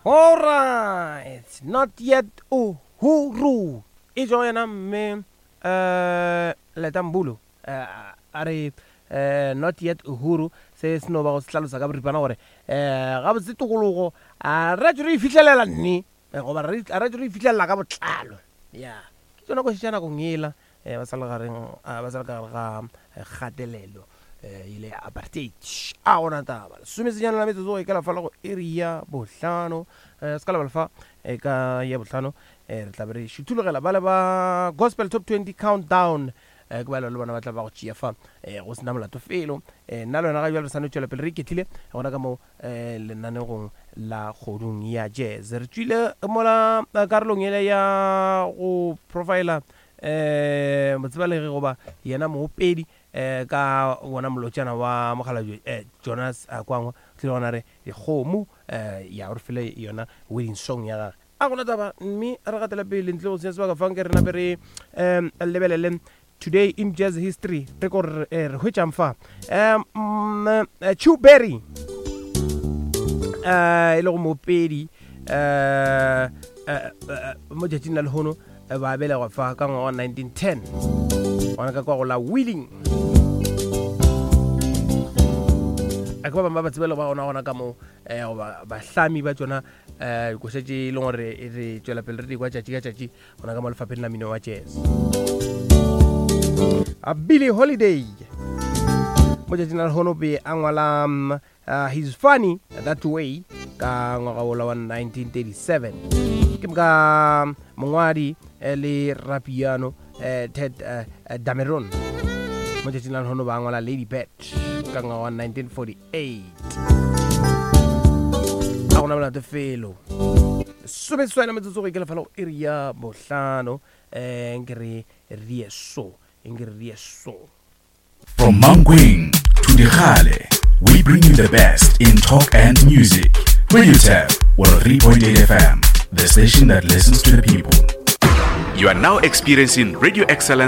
Alright, not yet uhuru. E tšwa go yena mme um Leta Mbulu eh, a re eh, not yet uhuru se se no ba go se hlalosa ka boripana gore um gabotse tokologo a re tšo re e fihlelela nne eh, goba re a re tšo re e fihlelela ka botlalo ya ke tsona koši tša nakong ela um ba sa le gareng ba sa le ka gare ga kgatelelo um ile ya apartheid a gona taba lesomesenyane la metsotso go ikela fa le go iri ya bohlano um se ka lebala fa e ka ya bohlano um re tla be re šuthulogela ba le ba gospel top 20 countdown um ke ba le bona ba tla ba go tšea fa um go sena molato felo um nna le wena ga jale re sa no tšwela pele re iketlile gona ka mo um lenanegong la kgodung ya jazz re tšwile mola karolong ele ya go profila um motsebalegi goba yena moopedi um ka wona molotšana wa mokgalabje um Jonas Kwangwa tlile gona re dikgomo um ya gore fele yona wedding song ya gage a gona taba mme re gatela pele ntle go senya sebaka fanke re nape re um lebelele today in jazz history re ko re eh, re hwetšang fa um Chuck Berry um e le go moopedi um mo tšatšing la lehono ba belegwa fa ka ngwaga wa 1910 gona ka kwa go la Wheeling a ke ba bangwe ba ba tsebele ba gona gona ka mo um goba bahlami ba tsona um dikoša tše e leng gore re tšwela pele re di kwa tšatši ka tšatši gona ka mo lefapheng la mino wa jazz a Billie Holiday mo tšatšing la lehono be a ngwala um, He's Funny That Way ka ngwaga wola wa 1937 ke moka mongwadi eh, le rapiano eh, Ted eh, Dameron mo tšatšing la lehono ba ngwala Lady Bird ka ngwaga wa 1948 a gona molato felo someseswai metsotso go ikela fela go iri ya bohlano um nke re re so nke re so From Mankweng to Dikgale, we bring you the best in talk and music. Radio Tab, 103.8 FM, the station that listens to the people. You are now experiencing Radio Excellence.